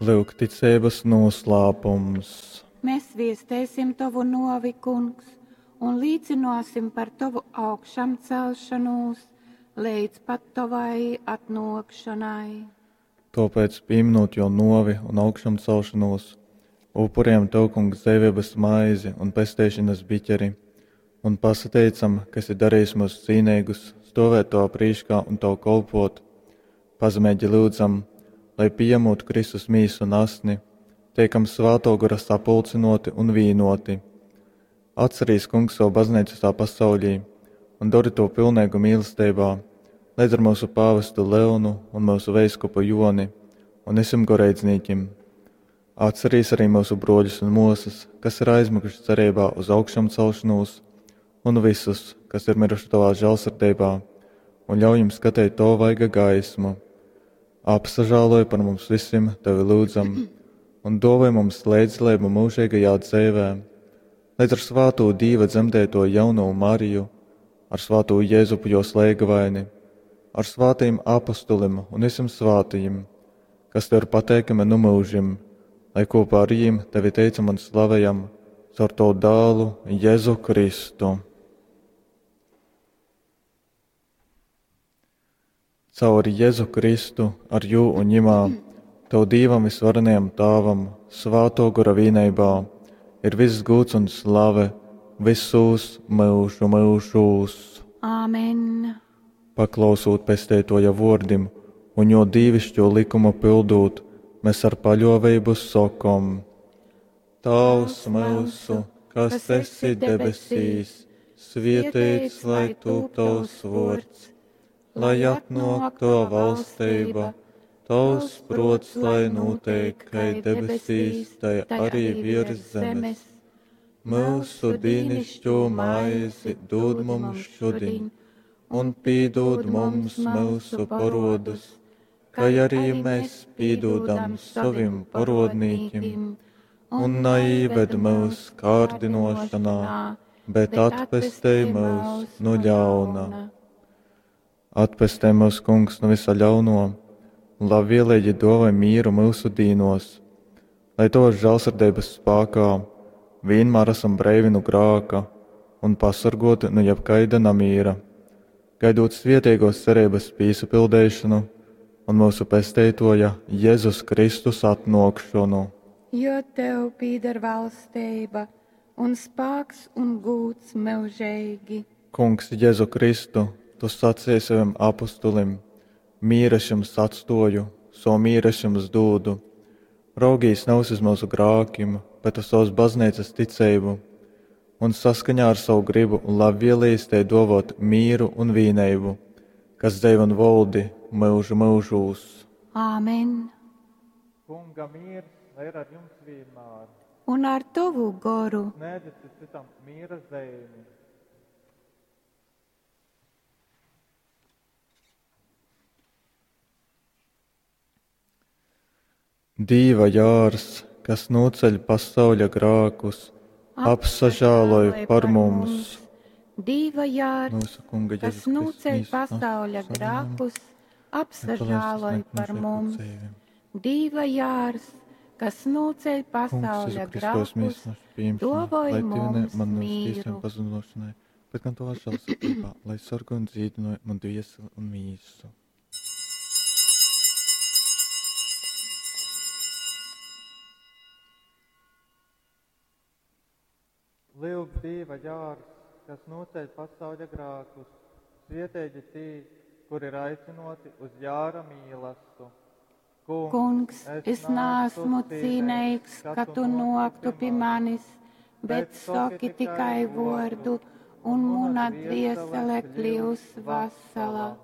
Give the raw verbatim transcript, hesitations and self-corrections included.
Lyuk ticeibas noslēpums. Mēs viestēsim tovu novi, kungs, un līcināsim par tovu augšamcelšanos līdz pat tavai atnākšanai. Tāpēc, pieminot jo novi un augšamcelšanos, upuriem tev, kungs, dzīvības maizi un pesteišanas biķeri, un pasateicam, ka esi darījis mūs cīnīgus, stāvēt tavā prīškā un tev kolpot. Pazemīgi lūdzam, lai pieņemot Kristus mīsu un asni, tiekam svēto gara sapulcinoti un vīnoti. Atcerīs, kungs, savu baznīcu tā pasaulī un dari to pilnīgu mīlestībā, līdz ar mūsu pāvestu Leonu un mūsu veiskupu Joni un visiem goreidznīkim. Atcerīs arī mūsu broļus un mūsas, kas ir aizmiguši cerībā uz augšām celšanos, un visus, kas ir miruši tavā žēlsirdībā, un ļauj jums skatīt to vaiga gaismu. Apsažāloj par mums visiem, tevi lūdzam, un dāvāj mums līdzdalību mūžīgajā dzīvē, līdz ar svāto Dīva dzemdēto jauno Mariju, ar svāto Jēzupu jo slēgavaini, ar svātajiem apostulim un visiem svātajiem, kas tev ir pateikami nu mūžim, lai kopā ar viņiem tevi teicam un slavējam caur tavu dēlu Jēzu Kristu. Caur Jēzu Kristu, ar jū un ņimā, tev Dīvam visvarenajam Tāvam, svāto gora vīneibā, ir viss gūts un slave visos mūžu mūžūs. Āmen. Paklausot pestētoja vordim un jo dīvišķo likumu pildūt, mēs ar paļovību sokom. Tavs mūsu, kas esi debesīs, svietēts lai tūp tavs vords, lai atnāk tava valstība, tavs prots, lai notiek, kai debesīs, tai arī virs zemes. Mūsu dīnišķo maizi dod mums šodien, un pīdod mums mūsu parodus, kā arī mēs pīdodam savim parodnīkim, un neīved mūs kārdinošanā, bet atpestej mūs no ļauna. Atpestē mūs, kungs, no visa ļauno, un labvēlīgi dāvāj mieru mūsu dīnos, lai tavas žēlsirdības spēkā vienmēr esam breivi no grāka un pasargoti no jebkaida namīra, gaidot svietīgos cerības pīsapildīšanu un mūsu pesteitoja Jēzus Kristus atnākšanu. Jo tev pīder valstība un spāks un gūts mūžīgi. Kungs Jēzu Kristu, tu sacīji saviem apustulim, mīra es jums atstoju, savu mīru es jums dūdu. Raugīs nevis uz mūsu grākim, bet uz savas baznīcas ticību, un saskaņā ar savu gribu un labvēlīs te dovot mīru un vīneibu, kas dzēv un voldi mūžu mūžūs. Āmen. Kunga miers, lai ir ar jums vienmēr. Un ar tavu goru. Sniedziet citam miera zīmi. Dīva jārs, kas noceļ pasauļa grākus, apsažāloj par mums. Dīva jārs, Mūsu kunga kas Jēzus Kristus noceļ mīsu pasauļa savam, grākus, apsažāloj lai par mūžīgo mums. dzīvi. Dīva jārs, kas noceļ Kungs, pasauļa Jēzu Kristus, grākus, mīsu našu pieņemšanai, dovoj lai tu ne mums man uz tīsiem mīru. pazudinošanai, bet gan tavā žēlsirdībā, lai sargo un dzīdinoja man dvieseli un mīsu. Lūk, Dieva jārs, kas noceļ pasauļa grākus, svietēji tī, kur ir aicinoti uz jāra mīlastu. Kungs, es neesmu cīnīgs, ka tu noktu pie manis, bet saki tikai vordu, un muna dviesele kļūs vesela.